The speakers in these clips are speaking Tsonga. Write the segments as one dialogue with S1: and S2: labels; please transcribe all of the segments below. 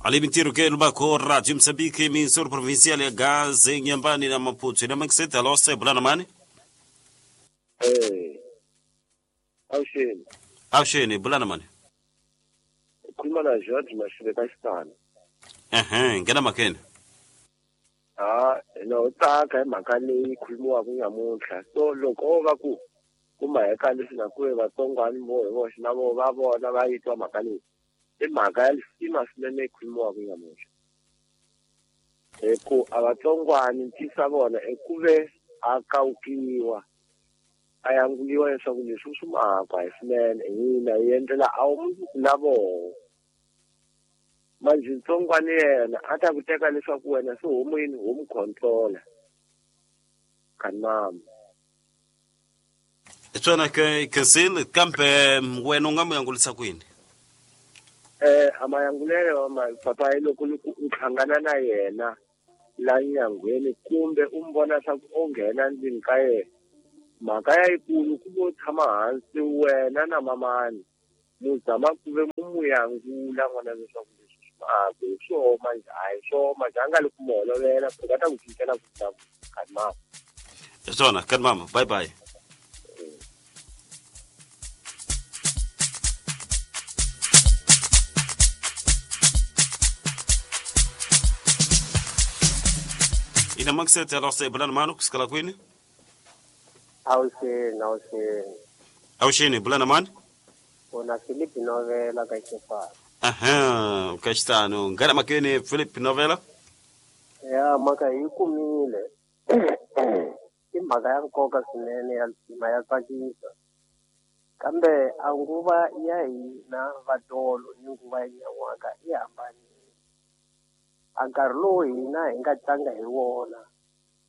S1: Ali mintiro ke lubako Radio Mozambique, emissora provincial ya Gaza, Inhambane na Maputo. Ina Maxete, alô, Bulana mani?
S2: Awusheni.
S1: Awusheni, Bulana mani?
S2: Ukhuluma na George Mashibe kaXitana.
S1: Ehe, ngena makene.
S2: Ah, no tsaka hi mhaka leyi khulumiwaka namuntlha. So loko o va ku kumaheka leswi nga ku vatsongwani vo hi voxe na vo va vona va yi twa mhaka leyi. I mhaka ya lisima swinene yi khulumiwaka namuntlha. Hi ku a vatsongwani ntisa vona i ku ve a kawukiwa a yanguliwa leswaku leswi swi mhaka hi swinene hina hi endlela a wu mundzuku na voho. Manje ntsongwani yena a ta ku teka leswaku wena se homu yini homu controller kanama.
S1: Tswana ke Kesil kambe wena u nga mu yangulisa kwini?
S2: A mayangulelo ma papa loko u hlangana na yena la nyangweni kumbe u mbona swa ku o nghena ndzeni ka yena. Mhaka ya yikulu ku vo tshama hansi wena na mamani mu zama ku ve mu yangula n'wana leswaku leswi swi mhaka hi swo manje a hi swo manje a nga le ku mu holovela ku va ta ku cincela ku ta kanama.
S1: Tswana kanama, bye bye. Ina Maxete, alô, Bulana mano, kusikala kwini?
S3: Awusheni, awusheni.
S1: Awusheni, Bulana mani?
S3: Una Philip Novela ka Xitano.
S1: Aha, ka Xitano. Ngana makene Philip Novela?
S3: Ya, mhaka yi kumile. I mhaka ya nkoka swinene ya lisima ya tsakisa. Kambe a nguva ya hina vatolo ni nguva ya nyan'waka yi hambanile. A nkarhi lowu hina hi nga tlanga hi wona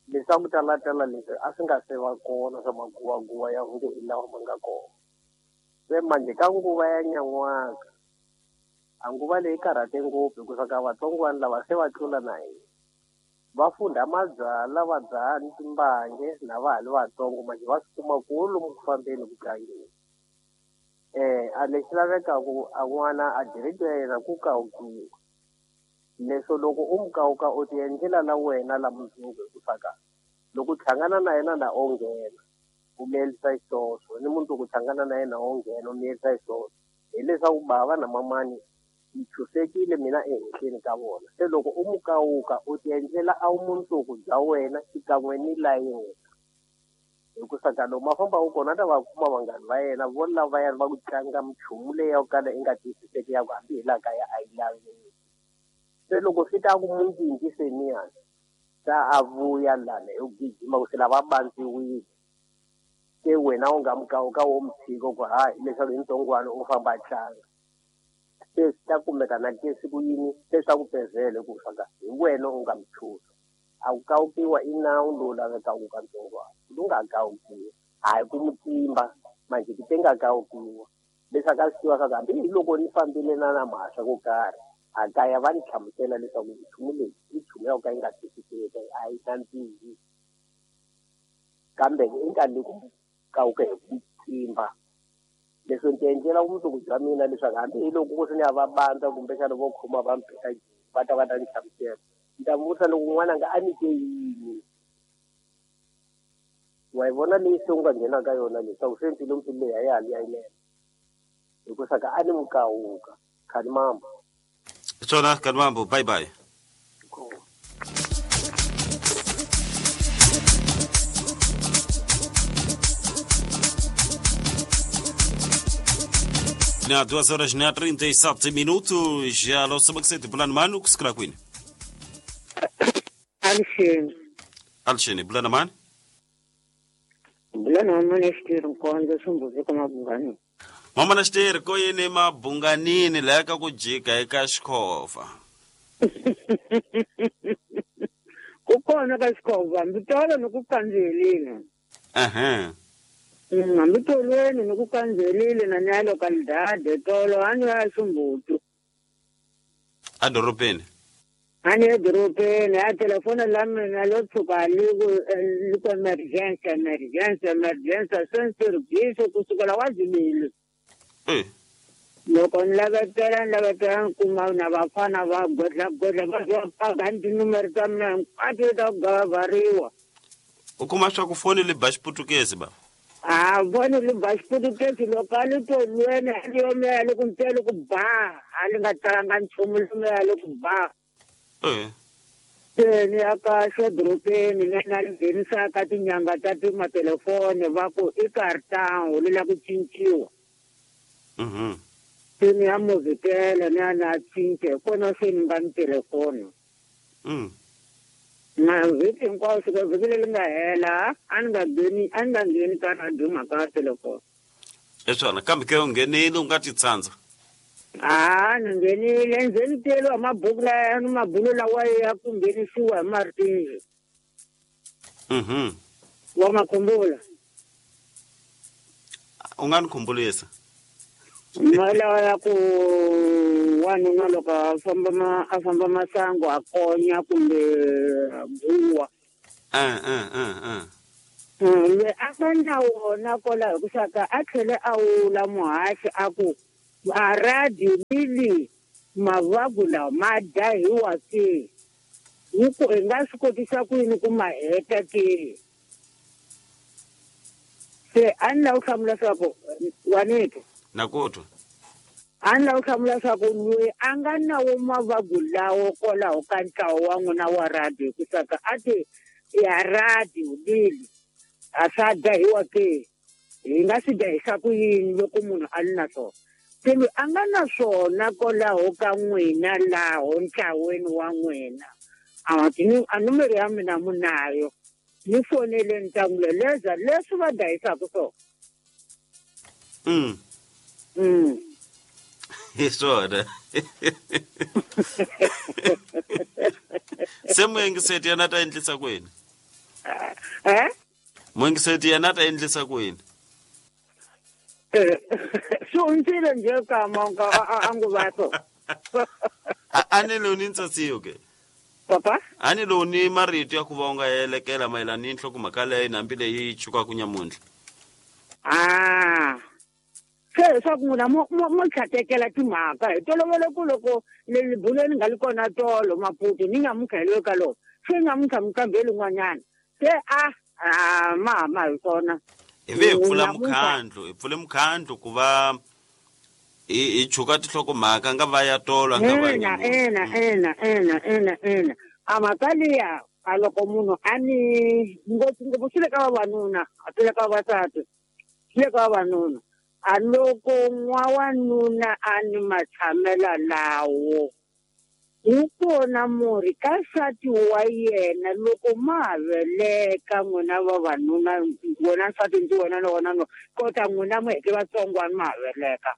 S3: leswaku talatala leswi a swi nga se va kona swa maguwaguwa ya hungu hi lawa ma nga kona. Se manje ka nguva ya nyan'waka a nguva leyi karhate ngopfu hikuva ka vatsongwana lava se va tlula na hina. Va funda mabyala va dzaha ni timbange na va ha li vatsongo manje va swi kuma ku lomu ku fambeni ku tlangeni. A lexi lavekaku a n'wana a direct ya yena ku kawukiwa. Leswo loko u mu kawuka u ti endlela la wena la mundzuku hikuva ka loko u hlangana na yena na o nghena u miyelisa xiswoswo ni mundzuku u hlangana na yena o nghena u miyelisa xiswoswo hileswaku bava na mamani yi chusekile mina ehenhleni ka vona. Se loko u mu kawuka u ti endlela a mundzuku bya wena xikan'we ni la yena. Hikuva ka lomu a fambaka kona a ta va kuma vanghana va yena vo lavayani va ku tlanga minchumu leyi ya ku kala i nga twisiseki ya ku hambi hi laha kaya a yi laveki. Se loko swi ta ku mundzingi seniyani ta a vuya lana hi ku gijima ku se lava bandziwile. Se wena u nga mu kawuka wo mu tshika ku hayi leswaku hi ntsongwana u famba a tlanga. Se swi ta kumeka na ke siku yini se swa ku pezele ku faka hi wena u nga mu chuza. A ku kawukiwa i nawu lowu lavekaka ka ntsongwana. Lowu nga kawukiwa hayi ku mu timba manje ti nga kawukiwa leswaku a swi tiva swa ku hambi hi loko ni fambile na na mhasa ko karhi a kaya va ni hlamusela leswaku nchumu leyi i nchumu ya ku ka yi nga twisiseki a yi nandzihi. Kambe i nga le ku kawuka hi ku timba. Leswi ndzi endlela vumundzuku bya mina leswaku hambi hi loko ku ri ni ya va bandza kumbexana vo khoma va mpheka va ta va ta ni hlamusela. Ni ta vutisa loko n'wana nga a nyike yini. Wa yi vona leyi se u nga nghena ka yona leswaku se mpfilumpfilu leyi a ya ha li ya yinene. Hikuva ka a ni mukawuka. Khani mambo.
S1: Tswana khani mambo, bye bye.
S3: Cool.
S1: Na 2 horas na 37 minutos, já alô Samaxete, Bulana mano, kusikala kwini?
S4: Alisheni.
S1: Alisheni, Bulana mani?
S4: Bulana mani xitiri nkonzo swimbuzi ka mabunganini.
S1: Mama na xitiri ko yini mabunganini la ka ku jika eka xikhova.
S4: Ku kona ka xikhova, hambi tolo ni ku kandzihelile.
S1: Ehe.
S4: Hambi tolweni ni ku kandzihelile na nyalo ka lidade tolo a ni ya ximbutu.
S1: A dorobeni.
S4: A ni ya dorobeni a telefoni la mina lo tshuka li ku emergency emergency emergency se ni tirhisa kusukela wa dzimile. Loko ni lavetela ni kuma na vafana va godla va paka ni tinumere ta mina hinkwato ta ku gavariwa.
S1: U kuma swa ku foni li ba xiputukezi ba?
S4: A foni li ba xiputukezi loko a li to lwene a li yomeya li ku ntele ku ba a li nga talanga nchumu lomeya li ku ba. Se ni ya ka xedorobeni ni na li nghenisaka tinyanga ta timatelefoni va ku i carton li la ku cinciwa. Se ni ya movhitela ni ya na cinca hi kona se ni nga ni telefoni. Na vhiki hinkwawo fika vhiki leri nga hela a ni nga ngheni ka radio mhaka ya telefoni.
S1: Hi swona kambe ke u nghenile u nga ti tsandza?
S4: A ni nghenile nze ni teliwa mabuku laya ni mabulo lawa ya ku nghenisiwa hi martinzi. Wa ma khumbula?
S1: U nga ni khumbulisa?
S4: Malawa ya ku wanuna loko a famba masangu a konya kumbe buwa. Loyi a nga na wona kwalaho hi ku saka a tlhele a wula muhaxi a ku a radio lili mavagu lawa ma dyahiwa ke hi ku hi nga swi kotisa ku yini ku ma heta ke. Se a ni lava ku hlamula swa ku wanito.
S1: Na ku twa.
S4: A ni lava ku hlamula swa ku loyi a nga na wo mavagu lawo kwalaho ka ntlawa wa n'wina wa radio hi ku saka a ti ya radio lili a swa dyahiwa ke hi nga swi dyahisa ku yini loko munhu a li na swona. Se loyi a nga na swona kwalaho ka n'wina laho ntlaweni wa n'wina a numero ya mina munayo ni fonele ni ta n'wi leza leswi va dyahisaka swona.
S1: Hi swona. Se muyengiseti yena ta endlisa ku yini? Muyengiseti yena ta endlisa ku yini?
S4: Swi hundzile nje kama a nguva so.
S1: A ni lowu ni ntsasiyo ke?
S4: Papa?
S1: A ni lowu ni marito ya ku va u nga elekela mayelana ni nhlokomhaka leyi hambi leyi chukaka nyamuntlha.
S4: Se leswaku n'wina mo tlhatekela timhaka hi tolovele ku loko leli buleni nga li kona tolo Maputo ni nyamuntlha hi loyi ka loko se nyamuntlha mukambeli n'wanyana se a ma hama hi swona.
S1: Hi ve hi pfula mukhandlu hi pfule mukhandlu ku va hi chuka tinhlokomhaka nga va ya tolo nga va
S4: ina ina a mhaka liya a loko munhu a ni ngopfungopfu swi le ka vavanuna a swi le ka vavasati swi le ka vavanuna. A loko n'wawanuna a ni matshamela lawo wu kona murhi ka nsati wa yena loko ma ha veleka n'wina vavanuna wena nsati ndzi wena na wena no kota n'wina mi heke vatsongwana ma ha veleka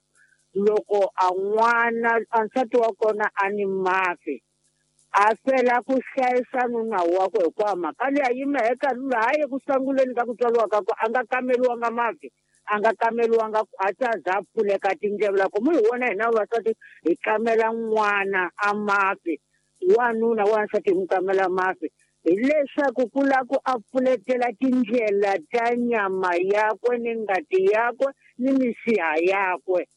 S4: loko a n'wana a nsati wa kona a ni mafi a fela ku hlayisa nuna wakwe hikuva mhaka leyi a yima eka laha eku sunguleni ka ku tswariwa ka ku a nga kameriwanga mafi a nga kameriwanga a ta za pfuleka tindleve loko mu hi vona hina vavasati hi kamela n'wana a mafi wanuna wansati hi n'wi kamela mafi hileswaku ku lava ku a pfuletela tindlela ta nyama yakwe ni ngati yakwe ni misiha yakwe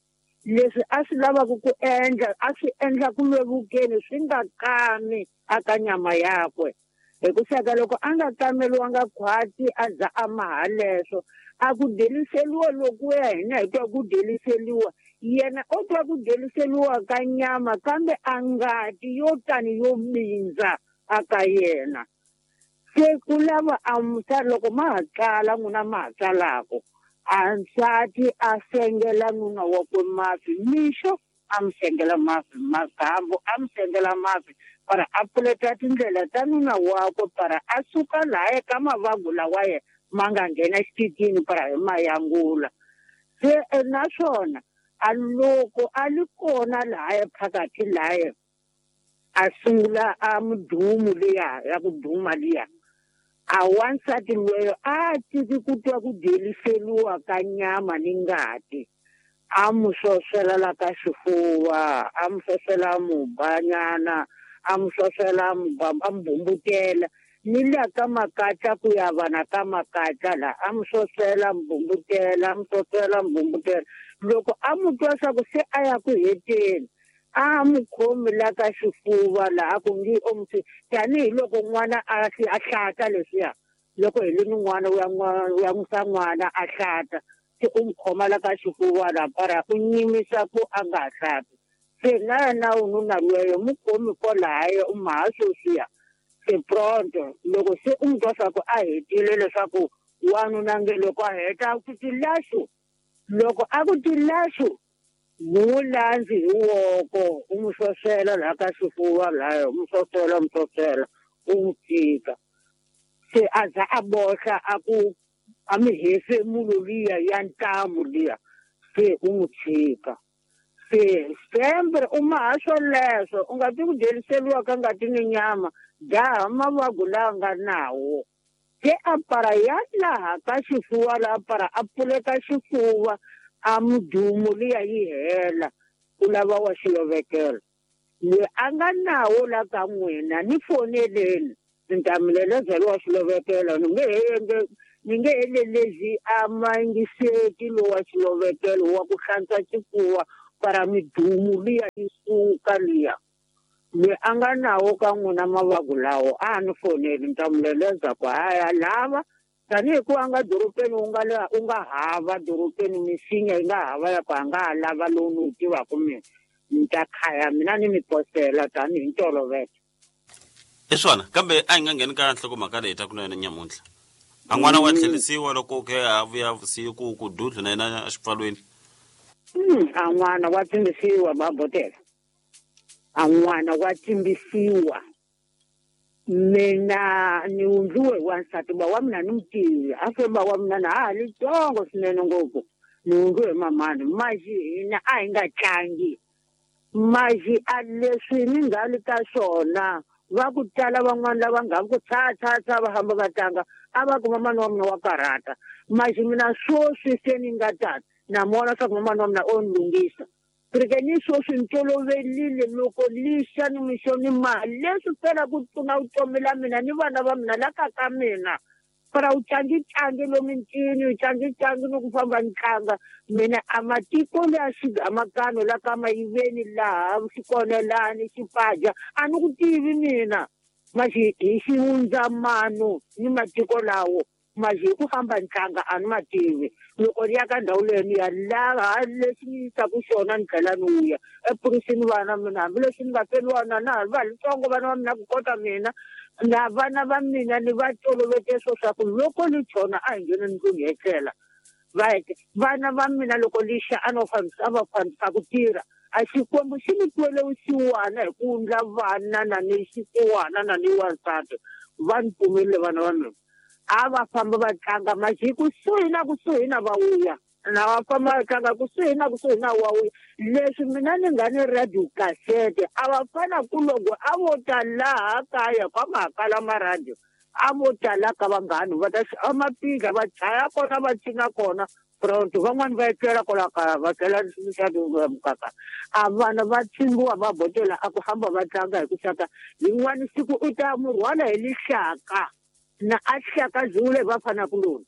S4: leswi a swi lavaka ku endla a swi endla ku vevukeni swi nga kami aka nyama yakwe hi ku saka loko a nga kameriwanga khwati a za a maha leswo a ku deliseliwa loko ya hina hi twa ku deliseliwa yena o twa ku deliseliwa ka nyama kambe a ngati yo tani yo bindza aka yena. Se ku lava a loko ma ha tsala n'wina ma ha tsalaka a nsati a sengela nuna wakwe mafi mixo a mi sengela mafi magambo a mi sengela mafi para a pfuleta tindlela ta nuna wakwe para a suka laha eka mavagu lawa yena ma nga nghena xititini para hi mayangula. Se naswona a loko a li kona laha phakathi laha a sungula a mudumu liya ya ku duma liya a wansati loyo a tiki ku twa ku deliseliwa ka nyama ni ngati a mu swoswela la ka xifuva a mu swoswela mubanyana a mu swoswela a mu bumbutela ni la ka makatla ku ya vana ka makatla la a mu swoswela mu bumbutela a mu swoswela mu bumbutela. Loko a mu twa swa ku se a ya ku heteni, a mu khomi la ka xifuva laha ku ngi omusi tanihiloko n'wana a hlata leswiya. Loko hi li ni n'wana u ya n'wisa n'wana a hlata, se u mu khoma la ka xifuva laha para u nyimisa ku a nga ha hlati. Se na yena ununa lweyo mu khomi kwalaye u maha sweswiya. Se pronto loko se u mu twa swa ku a hetile leswaku wanuna nge loko a heta ku tilaxu, loko a ku tilaxu mu landzi hi woko u mu sosela laha ka xifuva laha u mu sosela u mu tshika. Se a za a bohla a ku a mi hefemulo liya ya ntamu liya, se u mu tshika. Se sempre u maha swoleswo u nga ti ku dyeliseliwa ka ngati ni nyama, dzaha mavabyi lawa nga nawo. Se a para ya laha ka xifuva laha para a pfuleka xifuva a mudumu liya yi hela, u lava wa xilovekelo. Loyi a nga nawo la ka n'wina ni foneleni ni ta mi lelezela wa xilovekelo, ni nge helelezi a mayingiseki lowa xilovekelo wa ku hlantswa xifuva para midumu liya yi suka liya. Loyi a nga nawo ka n'wina mavabyi lawo a ni foneli ni ta mi leleza ku haya lava tanihi ku a nga dorobeni u nga hava dorobeni misinya yi nga hava ya ku a nga ha lava lowu ni wu tivaka mina, ni ta khaya mina ni mi posela tanihi ntolovelo.
S1: I swona, kambe a hi nga ngheni ka nhlokomhaka leyi ta ku na yona nyamuntlha. A n'wana wa tlherisiwa loko ke a vuya vusiku ku dudlu na yena exipfalweni.
S4: A n'wana wa tsimbisiwa babotela. A n'wana wa tsimbisiwa. Mina ni wundliwe hi wansati ba wa mina ni mutivi, a fe ba wa mina na ha li tsongo swinene ngopfu. Ni wundliwe hi mamani, maxi hina a hi nga tlangi. Maxi a leswi ni nga li ka swona, va ku tala van'wana lava nga ku tsha tsha tsha va hamba va tlanga, a va ku mamani wa mina wa karhata. Maxi mina swoswi se ni nga tata, na mona swa ku mamani wa mina o ni lunghisa. Rike ni swoswi ni tolovelile loko lixa ni mixo ni mali leswi fela ku pfuna vutomi la mina ni vana va mina la ka ka mina. Para u tlangi-tlangi lomu ncini, u tlangi-tlangi ni ku famba ni tlanga. Mina a matiko leya xigamakano la ka mayiveni laha xikonelani xipaja a ni ku tivi mina. Maxi hi xivundzamano ni matiko lawo, maxi hi ku famba ni tlanga a ni ma tivi. Loko ni ya ka ndhawu leyi ni ya laha lexi ni yisaka xona ni tlhela ni vuya epurisini vana mina, hambileswi ni nga feriwa na ha va litsongo vana va mina ku kota mina na vana va mina ni va tolovete swo swa ku loko li chona a hi ngheni ndlwini hi etlela. Vana va mina loko lixa a no fambisa a va fambisa ku tirha, a Xikwembu xi ni twele vusiwana hi ku ndla vana na ni xisiwana na ni wansati, va ni pfumerile vana va mina. A va famba va tlanga maxi kusuhi na kusuhi na va vuya, na va famba va tlanga kusuhi na kusuhi na wa vuya. Leswi mina ni nga ni radio cassette, a va fana ku loko a vo ta laha kaya kwa makala ma radio, a vo ta la ka vanghani va ta a mapindla va chaya kona va cina kona pronto, van'wani va etlela kwala kaya va tlela mukaka. A vana va tshimbiwa va botela a ku hamba va tlanga hi ku xaka yin'wani siku u ta mu rhwala hi lixaka na a hlaka zule va fana ku lona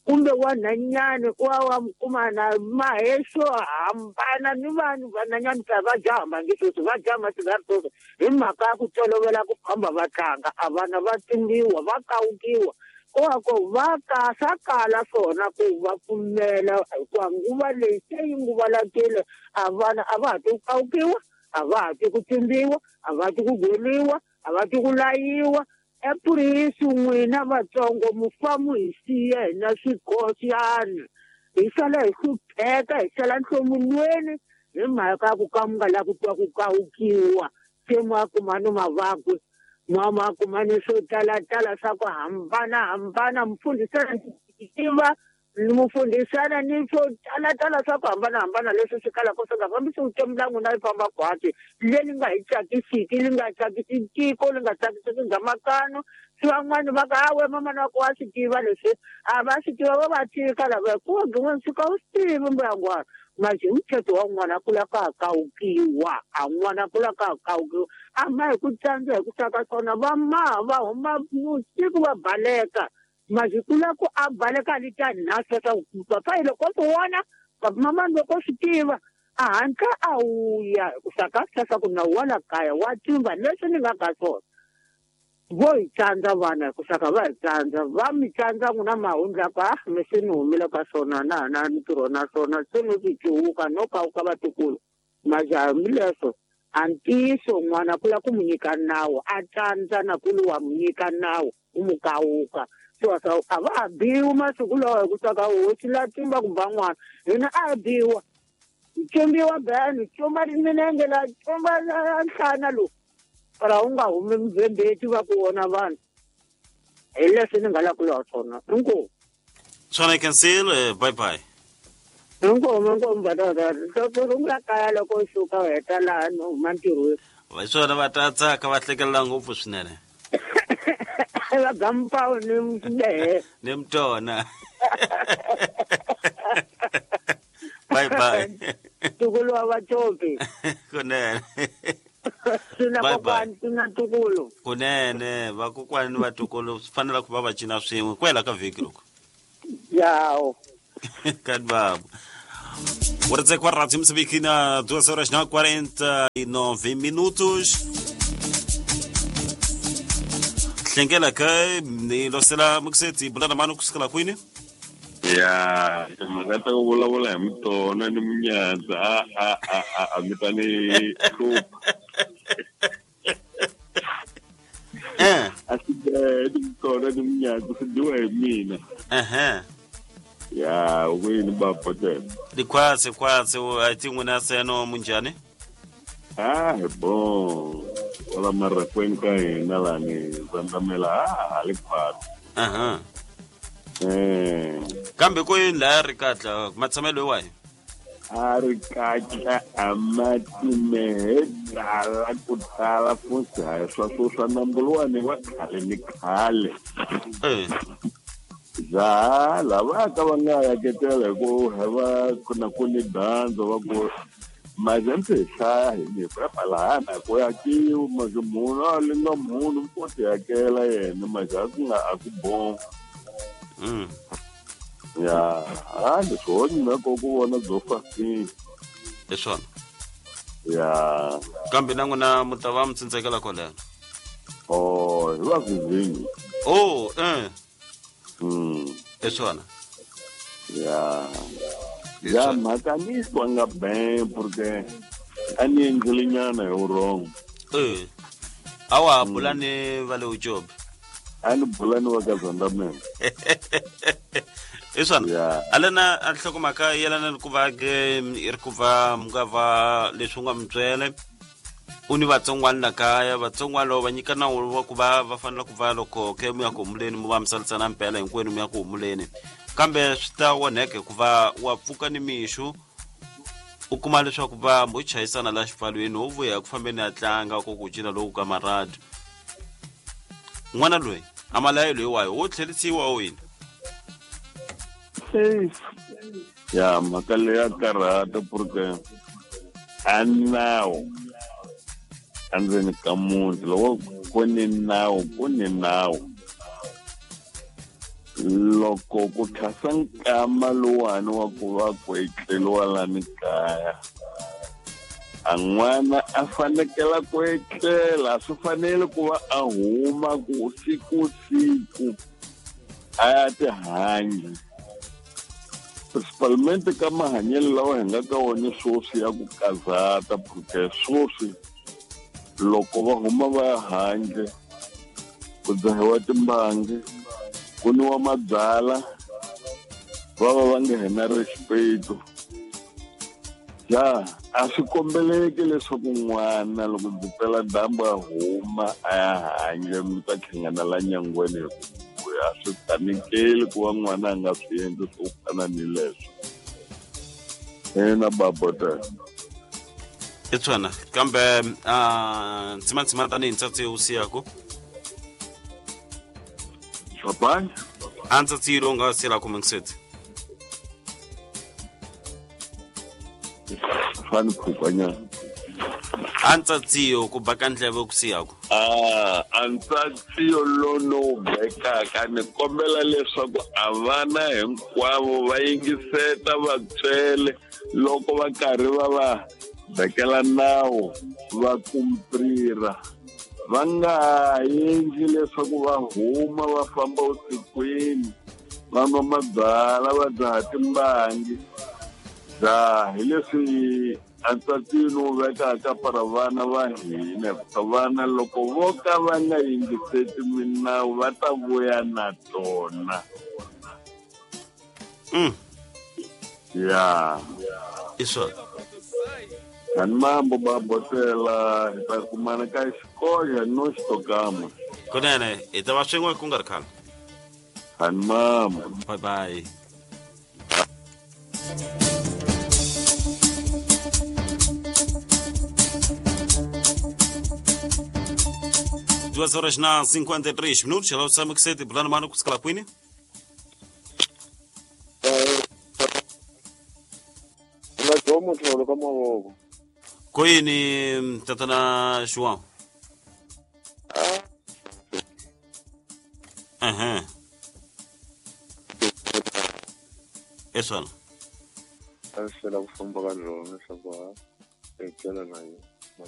S4: kumbe wanhanyani wa wa kuma na maheswo hambana ni vanhu vanhanyani ta va jaha nge sweswi va jaha masigari sweswi hi mhaka ya ku tolovela ku famba va tlanga. A vana va tsimbiwa va kawukiwa ko va ka swa kala swona ku va pfumela hikuva nguva leyi se yi nguva lakile. A vana a va ha ti ku kawukiwa, a va ha ti ku tsimbiwa, a va ti ku gweliwa, a va ti ku layiwa. Epurisi n'wina Vatsongo mu famu hi siya hina swikosiyani, hi sala hi hlupheka, hi sala nhlomulweni hi mhaka ya ku ka mu nga lavi ku twa ku kawukiwa. Se ma kuma ni mavabyi, ma kuma ni swo talatala swa ku hambanahambana, mufundhisana tiva mufundhisana ni swo talatala swa ku hambanahambana leswi swi kalaka swi nga fambisi vutomi la n'wina yi famba khwatsi leri nga hi tsakisiki, li nga tsakisi tiko, li nga tsakisiki gamakano. Swi van'wani va ka hawe mamana wa ku wa swi tiva leswi, a va swi tiva va va tshika lava hikuva gin'wana swi ka u swi tivi mbuyangwana. Maxi hi muthetho wa n'wana ku la ka kawukiwa, a n'wana ku la ka kawukiwa a ma hi ku tsandza hi ku saka swona va maha va huma vusiku va baleka. Maxi ku la ku a baleka li ta nhasa swa ku papa hi loko swi vona Mama loko swi tiva a hatla a wuya ku saka ku nawu wa la kaya wa timba leswi ni nga ka swona. Vo hi tsandza vana ku saka va hi tsandza va mi tsandza n'wina mahundla ku ah mi se ni humile ka swona na ha na ntirho na swona se no swi cuwuka no kawuka vatukulu majaha hambileswo a ntiyiso n'wana ku la ku mu nyika nawu a tsandza na ku li wa mu nyika nawu u mu kawuka so a va ha biwi masiku lawa hi ku saka hosi la timba ku ba n'wana hina a hi biwa cumbiwa beni cumba minenge la cumba nhlana lowu para u nga humi mubembeti va ku vona vanhu hi leswi ni nga la ku lwa swona inkomu
S1: swona cancel bye bye
S4: inkomu inkomu batata rungula kaya loko u suka u heta laha no huma ntirhweni
S1: hi swona va ta tsaka va hlekelela ngopfu swinene
S4: va gampawu ni mdehe
S1: ni mtona bye bye
S4: tukulu wa vacopi
S1: kunene
S4: swi na kokwani swi na tukulu
S1: kunene vakokwani ni vatukulu swi fanele ku va va cina swin'we ku hela ka vhiki loko
S4: yawo
S1: kani babo Ora kwa Rádio Moçambique na 2 horas na 49 minutos. Hlengela ka ni losela muksetsi bulana mano kusukela kwini?
S5: Ya, timhaka ta ku vulavula hi mutona ni munyadza a mi ta ni hlupha. A swi ni mutona ni munyadza swi dyiwa hi mina. Ya, kwini bapotela?
S1: Likhwatse khwatse a ti n'wina seno munjhani?
S5: Ah, bon. Wala marakweni ka hina lani zandamela a li khwatse.
S1: Kambe ko yini laya ri katla matshamelo wahi?
S5: A ri katla a matimehe tala ku tala futhi hayi swa swo swa nambu luwani wa khale ni khale. Ja lava ka va nga yaketela hi ku va na ku ni dyandza va ku mazembe hi hlaya hi ni lahana ku yakiwa maze munhu a linga munhu ko ti yakela yena maze a ku nga a ku bon. Ya, a leswi ho nyina ko ku vona byo fasini.
S1: Hi swona.
S5: Ya.
S1: Kambe na n'wina mu ta va mi tsindzekela kwalano.
S5: Oh, hi va vizinyi.
S1: Oh, Hi swona.
S5: Ya. Ya mhaka ni twa nga ben porque a ni endlile nyana hi wrong.
S1: A wa ha bula ni va le Ujobe?
S5: A ni bula ni va ka Zandamela.
S1: Hi swona. Alena a nhlokomhaka yelana ni ku va ke i ri ku va mi nga va leswi u nga mi byele u ni vatsongwana la kaya vatsongwana loko va nyika nawu wa ku va va fanele ku va loko ke mu ya ku humuleni mu va mi salisana mpela hinkwenu mu ya ku humuleni kambe swi ta onheka hikuva wa pfuka ni mixo u kuma leswaku va mo chayisana la xipfalweni wo vuya ku fambeni a tlanga ko ku cina lowu ka maradu n'wana loyi a malayo loyi wayo wo tlherisiwa o yini?
S5: Ya mhaka leyi ya karhata porque a nawu endzeni ka muti loko ku ni nawu ku ni nawu loko ku khasa nkama luwani wa ku va ku etleliwa lani kaya a n'wana a fanekela ku etlela swi fanele ku va a huma ku siku siku a ya tihanya principalmente ka mahanyelo lawa hi nga ka wona sweswi ya ku kazata porque sweswi loko va huma va ya handle ku dzahiwa timbangi ku nwiwa mabyala va va va nga hina respect. Ja a swi kombeleki leswaku n'wana loko ndzi pela dyambu a huma a ya handle mi ta hlangana la nyangweni hi ku a swi tsanekeli ku va n'wana a nga swi endli swo fana ni leswo. Ina babota.
S1: I swona kambe ntsimantsima tanihi ntsatsi wu siyaku?
S5: Papa?
S1: A ntsatsi lowu nga siyelaka mingiseti?
S5: Fani phukanyana.
S1: A ntsatsiyo ku baka ndleve ku siyaku?
S5: A ntsatsiyo lono bekaka ni kombela leswaku a vana hinkwavo va yingiseta vatswele Loko va karhi va va vekela nawu va kumprira va nga endli leswaku va huma va famba vusikwini va nwa mabyala va dzaha timbangi dzaha hi leswi antswatini wu vekaka para vana va hina hikuva vana loko vo ka va nga yingiseti minawu va ta vuya na tona. Ya
S1: i swona.
S5: Ani mambo babotela hi ta kumana ka xikoya no xitokama.
S1: Kunene hi ta va swin'we ku nga ri khale.
S5: Ani mambo.
S1: Bye bye. 2 horas na 53 minutos. Hello, Sam Kisete, bulana mano kusikala kwini?
S2: Nga mutholo ka mavoko.
S1: Kwini tatana João? Aham. É só.
S2: A swi hlwela ku famba ka rona leswaku ha etlela na yena.